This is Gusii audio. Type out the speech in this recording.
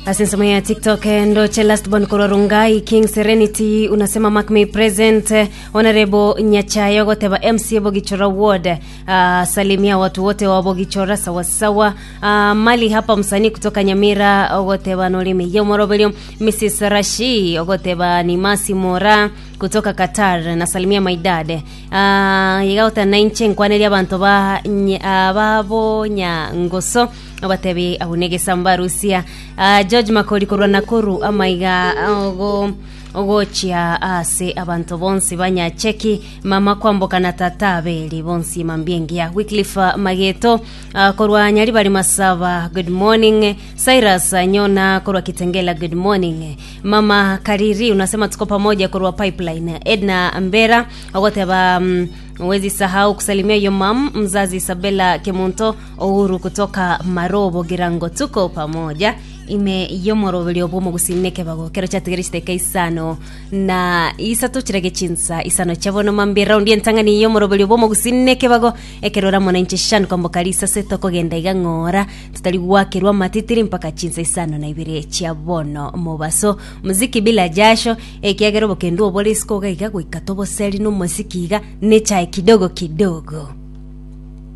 Ase ensemo ya TikTok eh, ndoche last born korwa Rongai King Serenity unasema mark me present eh, Honorable Nyachayo goteba MC Bogichora Ward uh, salimia watu wote wa Bogichora sawasawa uh, mali hapa msanii kutoka Nyamira ogoteba norimi yomoroberio Mrs Rashi ogoteba ni Masi Mora kutoka Qatar nasalimia my dad uh, iga goteba nainche nkwaneria abanto ba nye- ah, babo Nyangoso Obatebi abwo negesamba Rusia. Ah, George Makori korwa Nakuru amaiga ogo ogochia ase abanto bonsi ba Nyacheki mama kwamboka na tata Abeli bonsi mambia engiya Wycliffe ah, Mageto ah, korwa Nyaribari Masaba good morning Cyrus ah, Nyona korwa Kitengela good morning mama Kariri unasema tuko pamoja korwa Pipeline Edna Mbera ogoteba mm, Huwezi sahau kusalimia your mom mzazi Isabella Kemunto Uhuru kutoka Marobo Girango, tuko pamoja ime yomoroberio bw'omogusii kebago kero chatigere chiteka isano na isato chirage chinsa isano chia bono mambia raundi entang'ani yomoroberio bw'omogusii kebago ekero ora mwananchi shan kwamboka risase tokogenda iga ng'ora tutari gwakerwa amatitiri mpaka chinsa isano na ibere chia bono mobaso muziki bila jasho Ekiagera obokendu obore isiko iga iga goika toboseri nomosiki iga nechae kidogo kidogo.